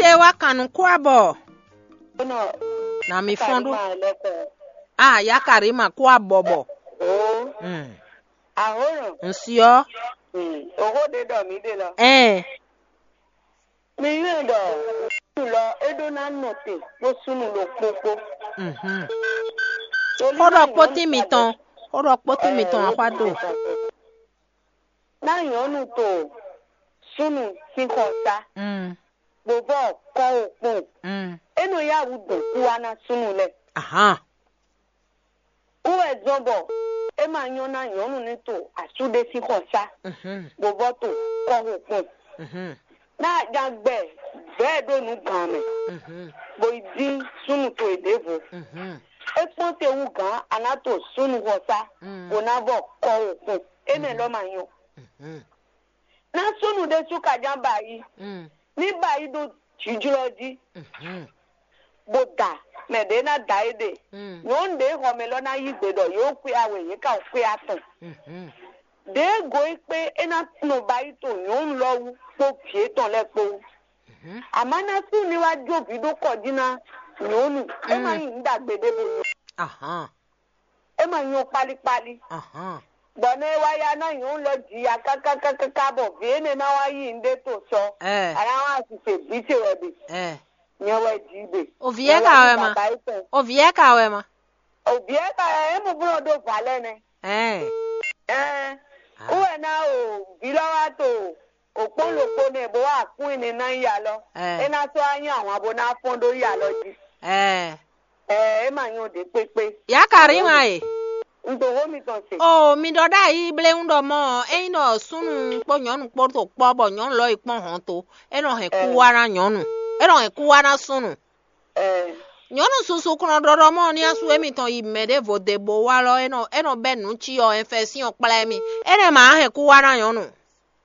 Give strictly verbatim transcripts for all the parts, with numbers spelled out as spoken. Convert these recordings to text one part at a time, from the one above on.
É wá kan nú kwábɔ. Nɔ Na mi fɔ́n ɖó. Karima lɛkɔ. A Yakarima kwábɔ bɔ. O. Mm. Ahoro. Nsiɔ. Mm. Oho de dɔ mi de lɔ. Ɛn. Mi yɔn dɔ lɔ e ɖó ná nɔ te kpó súnnu ɖokpó kpó. Mhm. Torí Xó ɖɔ ná kpótín nyɔ̌nu mitɔn. Xó ɖɔ kpótín mitɔn axwá do. Ná nyɔ̌nu to súnnu sín xɔsá. Mm. Bovɔ kɔ o kpɔn. Mm. E nɔ yá wǔ dɔn kú wá ná súnnu lɛ. Ahan. Kú wɛ zɔn bɔ é ma nyɔ́ ná nyɔ̌nu ní to asú ɖé sín xɔsá. Mhm. Bovɔ to kɔ o kpɔn. Mhm. Ná a jan gbɛ vɛ̌ ɖó nǔ gǎn mɛ. Mhm. Bo yi dín súnnu towe ɖěvo. Mhm. É kpɔ́n te wú gǎn a ná to súnnu xɔsá. Mm. Bó ná vɔ kɔ o kpɔn. Énɛ́ lɔ ma nyɔ́. Mhm. Ná súnnu ɖésú ka ján ba yí. Mm. Ní ba yí ɖó jǐjlɔ́ jí. Mhm. Bó da mɛ ɖě ná da é ɖe. Mm. Nyɔ̌nu ɖě xɔ mɛ lɔ ná yí gbe ɖɔ yě xwé awe yě ka xwé atɔn. Mhm. Ɖěe go é kpé é ná nɔ ba yí to nyɔ̌nu lɔ wú kpó vǐ étɔn lɛ́ɛ kpó wú. Mhm. Amǎ ná sú ní wá jó vǐ ɖó kɔ jí ná nyɔ̌nu. É má nyí nǔ ɖagbe ɖé bo nyɔ. Ahán. É ma nyɔ kpálíkpálí. Ahán. Bɔ nɔ e wá ya ná nyɔ̌nu lɔ ji ya kákákákáká bɔ vǐ énɛ́ ná wá yí nǔɖé to sɔ. Ɛ. A ná wá sise vǐ ce wɛ ɖe. Ɛ. Nyɛ wɛ ji ɖe. Ovǐ ɛ ka wɛ ma? Ovǐ ɛ ka wɛ ma? Ovǐ ɛ ka wɛ é mɔ blɔ ɖó vǎ lɛ́ nɛ. Ɛ. Ɛ. Ah. Wú wɛ ná o vǐ lɔ wá to òkpó ɖokpó nɛ bó wá kún ɛnɛ ná yi alɔ. Ɛ. É ná sɔ́ wá nyí ahwan bó ná fɔ́n ɖó yi alɔ jí. Ɛ. Ɛ, é ma nyɔ ɖě kpékpé. Yakarima e. Un ɖo xó mitɔn se. O mi ɖɔ ɖ'ayǐ bléwún ɖɔ mɔ ényí ɖɔ súnnu kpó nyɔ̌nu kpó to kpɔ́ bɔ nyɔ̌nu lɔ yi kpɔ́n hɔn to, é nɔ hɛn kú wá ná nyɔ̌nu. É nɔ hɛn kú wá ná súnnu. Ɛ. Nyɔ̌nu susu kplɔ́n ɖɔɖɔ mɔ ní asú émítɔn yi mɛ ɖěvo dě bó wá lɔ é nɔ é nɔ bɛ́ nǔ cí ɔ ɛnfɛ́sín ɔ kplá émí. Énɛ́ ma hɛn kú wá ná nyɔ̌nu.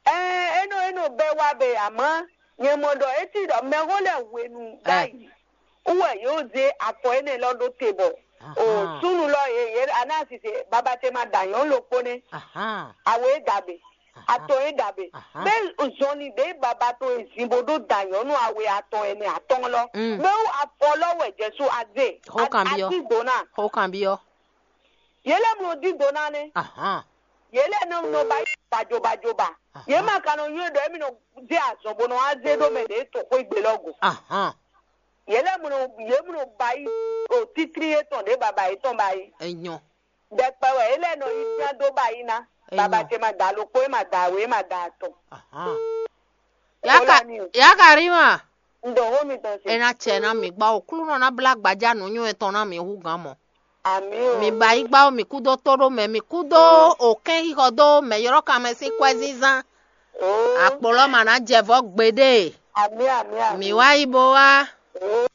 Ɛɛ, é nɔ é nɔ bɛ́ wá bɛ amá nyɛ mɔ ɖɔ é cí ɖɔ mɛxó lɛ́ɛ hwenu ɖ'ayǐ wú wɛ yě zé afɔ énɛ́ lɔ ɖó te bɔ o súnnu lɔ yě yě aná sise baba ce ma da nyɔ̌nu ɖokpó nɛ́. Ahán. Awe é da be atɔn é da be Ahán. Bɛ zɔnli ɖě baba tɔn e zin bó ɖó da nyɔ̌nu awe atɔn ɛnɛ atɔn lɔ Mm. Bɛ wú afɔ lɔ wɛ jɛsu azé Xó kan byɔ́. Ati dona Xó kan byɔ́. Yě lɛ́ mlɔ dín do ná nɛ́. Ahán. Yě lɛ́ nɔ nɔ ba yí bajobajoba. Yě ma ka nɔ nywɛ́ ɖɔ émí nɔ zé azɔn bó nɔ wá zé ɖó mɛ ɖě to xwé gbe lɔ go. Ahán. Yě lɛ́ mlɔ yě mlɔ ba yí o títrí yětɔn ɖě baba yětɔn ba yí. Enyɔ. Ɖɛkpɛ wɛ yě lɛ́ nɔ yí bíán dó ba yí ná. Enyɔ. Baba ce ma da alokpo é ma da awe é ma da atɔn. Ahán. Ó Yaka lá ní o. Yakarima. Un ɖo xó mitɔn se. É ná cɛ ná mǐ gbá o. Klúnɔ ná blá gbaja nǔnywɛ́ tɔn ná mǐ hú gǎn mɔ. Àmì o. Mǐ ba yí gbá o, mǐ kú dó tó ɖó mɛ, mǐ kú dó o kɛ́n xixɔ dó mɛ ylɔ́ kanmɛ sín kwɛ́zínzán. Oo. Akpɔlɔ ma ná jɛ vɔ́ gbeɖé. Àmì àmì àmì. Mǐ wá yí bo wá. Oo.